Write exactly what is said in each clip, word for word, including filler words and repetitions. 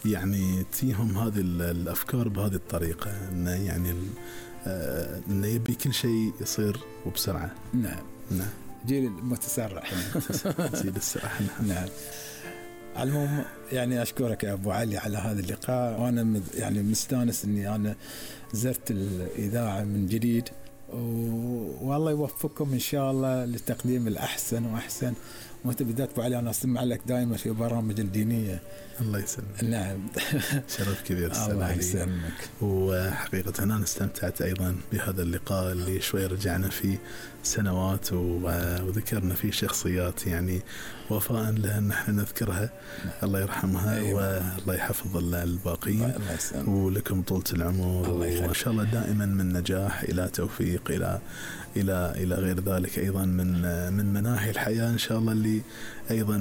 يعني تيهم هذه الأفكار بهذه الطريقة، إنه يعني إنه يبي كل شيء يصير وبسرعة. نعم نعم، جيل المتسرع. جيل السرح. نعم. على العموم يعني أشكرك يا أبو علي على هذا اللقاء، وأنا يعني مستانس إني أنا زرت الإذاعة من جديد، والله يوفقكم إن شاء الله لتقديم الأحسن وأحسن. وأنت بدأت أبو علي أنا أسمع لك دائما في برامج الدينية. الله يسلمك. نعم. شرف كبير. الله يسلمك. وحقيقة أنا استمتعت أيضا بهذا اللقاء اللي شوي رجعنا فيه سنوات وذكرنا فيه شخصيات يعني وفاء لها نحن نذكرها. الله يرحمها. أيوة. والله يحفظ الباقين ولكم طولة العمر، وإن شاء الله دائما من نجاح إلى توفيق إلى إلى إلى غير ذلك أيضا من من مناحي الحياة إن شاء الله اللي أيضا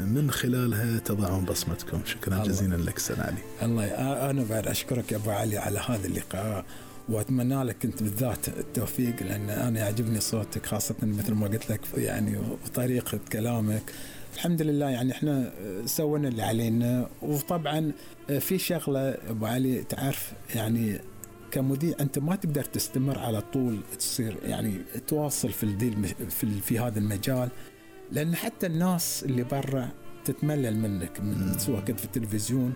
من خلالها تضعون بصمتكم. شكرا جزيلا لك أستاذ علي. الله أنا بعد أشكرك يا أبو علي على هذا اللقاء، وأتمنى لك أنت بالذات التوفيق، لأن أنا يعجبني صوتك خاصة مثل ما قلت لك يعني وطريقة كلامك. الحمد لله يعني احنا سوينا اللي علينا. وطبعا في شغلة أبو علي تعرف يعني كمذيع أنت ما تقدر تستمر على طول تصير يعني تواصل في الديل في في هذا المجال، لأن حتى الناس اللي برا تتملل منك من سواء كنت في التلفزيون،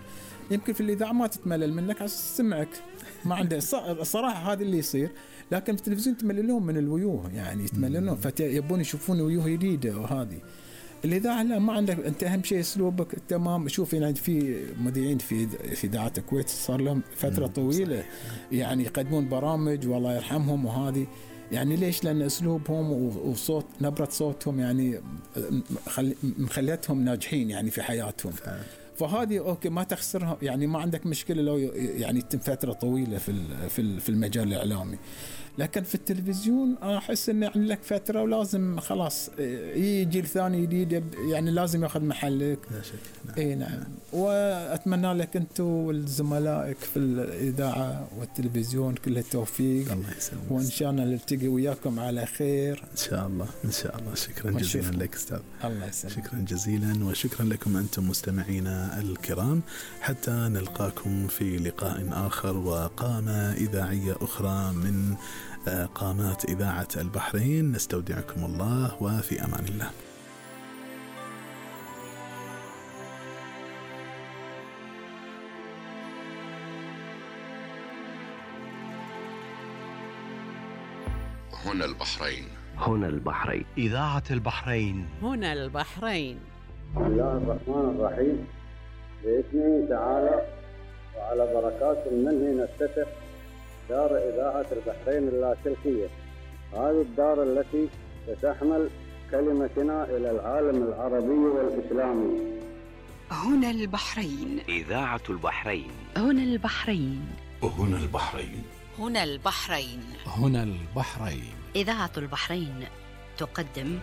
يمكن في الإذاعة ما تتملل منك عشان تسمعك ما عنده الصراحة هذا اللي يصير، لكن في التلفزيون تمللون من الوجوه يعني يتمللون فيبون يشوفون وجوه جديدة. وهذه الإذاعة لا ما عندك أنت أهم شيء أسلوبك تمام. شوف يعني في مذيعين في في إذاعة الكويت صار لهم فترة طويلة يعني يقدمون برامج والله يرحمهم، وهذه يعني ليش؟ لأن أسلوبهم وصوت نبرة صوتهم يعني مخليتهم ناجحين يعني في حياتهم. فهذه أوكي ما تخسرها يعني ما عندك مشكلة لو يعني تم فترة طويلة في في في المجال الإعلامي. لكن في التلفزيون أحس إن يعني لك فترة ولازم خلاص يجي جيل ثاني جديد يعني لازم يأخذ محلك. لا شك. نعم. إيه نعم. وأتمنى لك أنتوا والزملائك في الإذاعة والتلفزيون كل التوفيق. الله يسلمك. وإن شاء الله نلتقي وياكم على خير. إن شاء الله إن شاء الله. شكرا جزيلا لك أستاذ. الله يسلمك. شكرا جزيلا وشكرا لكم أنتم مستمعينا الكرام، حتى نلقاكم في لقاء آخر وقامة إذاعية أخرى من قامات إذاعة البحرين. نستودعكم الله وفي أمان الله. هنا البحرين. هنا البحرين. إذاعة البحرين. هنا البحرين. بسم الله الرحمن الرحيم. بإذنه تعالى وعلى بركات منه نفتتح دار إذاعة البحرين اللاسلكية. هذه الدار التي ستحمل كلمتنا إلى العالم العربي والإسلامي. هنا البحرين. إذاعة البحرين. هنا البحرين. هنا البحرين. هنا البحرين. هنا البحرين. إذاعة البحرين تقدم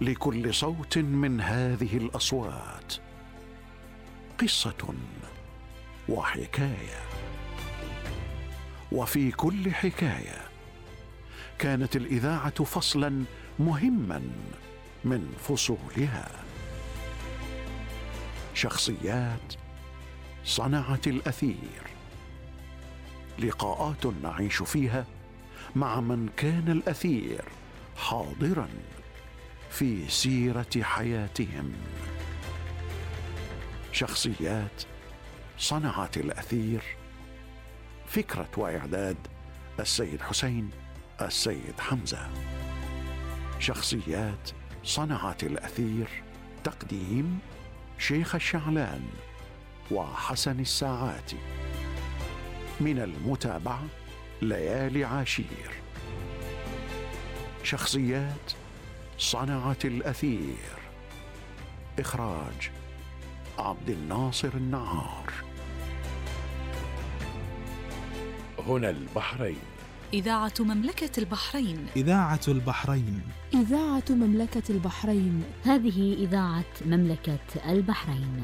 لكل صوت من هذه الأصوات قصة وحكاية، وفي كل حكاية كانت الإذاعة فصلا مهما من فصولها. شخصيات صنعت الأثير، لقاءات نعيش فيها مع من كان الأثير حاضرا في سيرة حياتهم. شخصيات صنعت الأثير، فكرة وإعداد السيد حسين السيد حمزة. شخصيات صنعت الأثير، تقديم شيخ الشعلان وحسن الساعاتي. من المتابعة ليالي عاشير. شخصيات صنعت الأثير، إخراج عبد الناصر النعار. هنا البحرين. إذاعة مملكة البحرين. إذاعة البحرين. إذاعة مملكة البحرين. هذه إذاعة مملكة البحرين.